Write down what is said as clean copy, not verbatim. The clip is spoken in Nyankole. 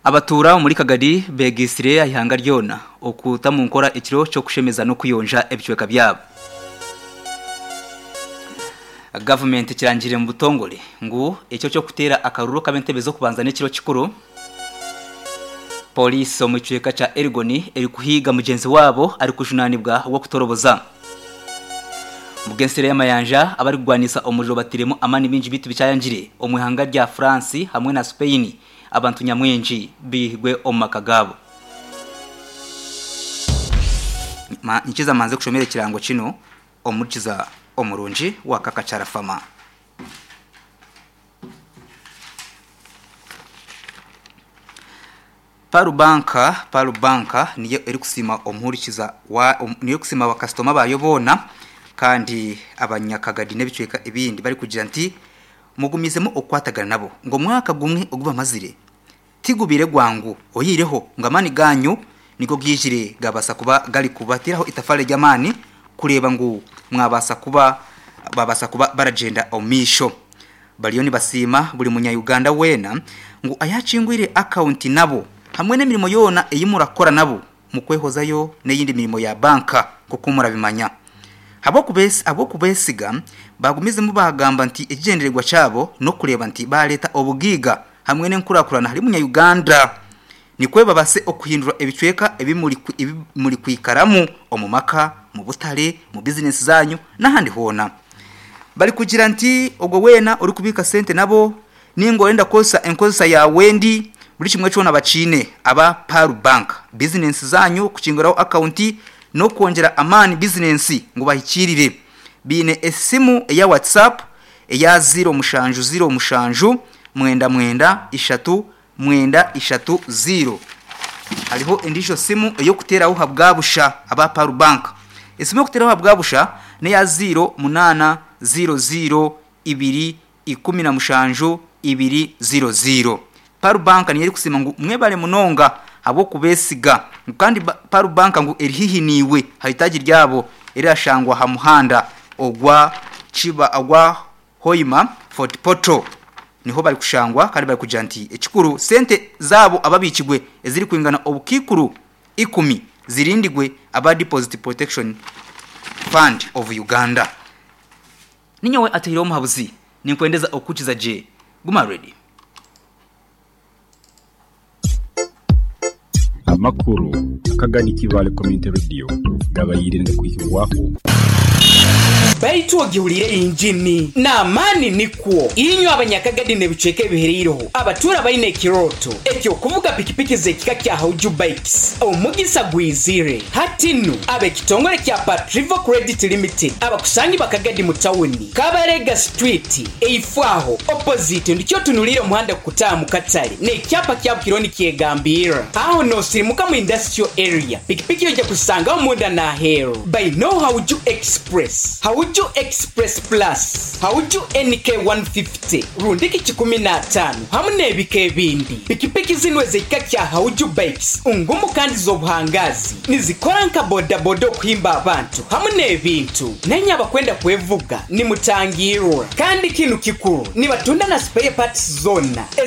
Abatuura omuri Kagadi beegaitsire aha ihanga ryona okuta omu nkora ekiro ky'okushemeza n'okuyonja ebicweka byabo. Gavumenti ekirangirire omu butongore ngu ekiro ky'okuteera akaruru ak'ab'entebe z'okubanza n'ekiro kikuru. Pooriisi omu kicweka kya Elgon erikuhiiga mugyenzi waabo arikujunaanibwa ogw'okutoroboza. Omu g'ensero y'amayanja, abarikugwanisa omuriro bateiremu amaani maingi beitu bikyayangire omu ihanga rya France hamwe na Spain abantu nyamwingi baihirwe omu maka gaabo. Nyikiza manze kushomera ekirango kino omuhurikiza omurungi wa Kakachara Farmer. Pearl Bank, Pearl Bank niyo erikusiima omuhurikiza wa niyo erikusiima bakasitoma baayo boona kandi abanyakagadi n'ebicweka ebindi barikugira nti mugumizemu okukwatagana nabo ngu omwaka gumwe ogu bamazire tigubaire gwangu oyihireho ngu amaani gaanyu nigo gaijire gaabaasa kuba garikubateeraho itafaari ry'amaani kureeba ngu mwabaasa kuba babaasa kuba baragyenda omu maisho. Bariyo nibasiima buri munya Uganda weena ngu ayakingwire akawunti nabo hamwe n'emirimo yoona ei murakora nabo mukwehozayo n'eyindi mirimo ya banka nk'oku murabimanya. Ahabw'okubesiga, baagumizemu baagamba nti ekigyendererwa kyabo n'okureeba nti baareeta obugaiga hamwe n'enkurakurana ahari munya Uganda nikwo babase okuhindura ebicweka ebi murikwikaramu omu maka, mu butare, mu bizinesi zaanyu n'ahandi hoona. Barikugira nti ogwo weena orikubiika sente nabo ninga orenda kukozesa enkozesa yaawe endi, buri kimwe kyona bakiine aba Pearl Bank. Bizinensi zaanyu kukinguraho akawunti n'okwongyera amaani bizinensi ngu bahikiirire. Baine esimu eya WhatsApp eya ziiro mushanju ziiro mushanju mwenda mwenda ishatu mwenda ishatu ziiro. Hariho endiijo simu ey'okuteeraho ahabwa busha aba Pearl Bank. Esimu ey'okuteeraho ahabwa busha n'eya ziiro munaana ziiro ziiro ibiri 17 ibiri ziiro ziiro. Pearl Bank niyo erikusiima ngu mwebare munonga ahabw'okubesiga ngu kandi Pearl Bank ngu eri haihi naiwe aha itaagi ryabo erirashangwa aha muhanda ogwa Kiba ogwa Hoima Fort Portal niho barikushangwa kandi barikugira nti ekikuru sente zaabo ababikirwe ezirikwingana obukaikuru ikumi zirindigwe aba Deposit Protection Fund of Uganda. Ninyowe ataireho omuhabuzi, ninkwendeza okukukiza gye. Guma ready. Amakuru akagani Kibaale Community Radio gabaire nigakwihibwaho. Baitu ogihuriire engini n'amaani nikwo. Inywe abanyakagadi n'ebicweka ebihereireho abatuura baine ekirooto eky'okuvuga pikipiki z'ekika kya Hauju Bikes, omugisa gwizire. Hati nu, ab'ekitongore kya Patrivo Credit Limited abakusangibwa Kagadi mu tawuni, Kabarega Street, eifo aho, opposite, ndikyo otunuliire omuhanda kukutaaha mu katare n'ekyapa kyabo kiriho nikyegambirra. Aho noosirimuka mu Industrial Area, pikipiki oija kuzisangaho munda n'aheeru. Baineo Hauju Express, Hauju Express Plus, Hauju NK 150, rundiki 150 hamu n'ebika ebindi. Pikipiki zinu ez'ekika kya Hauju Bikes ngumu kandi z'obuhangaazi. Nizikora nka bodaboda okuhimba abantu hamu n'ebintu. Nainye abakwenda kwevuga nimutangirwa. Kandi kinu kikuru, nibatunda na spare parts zona.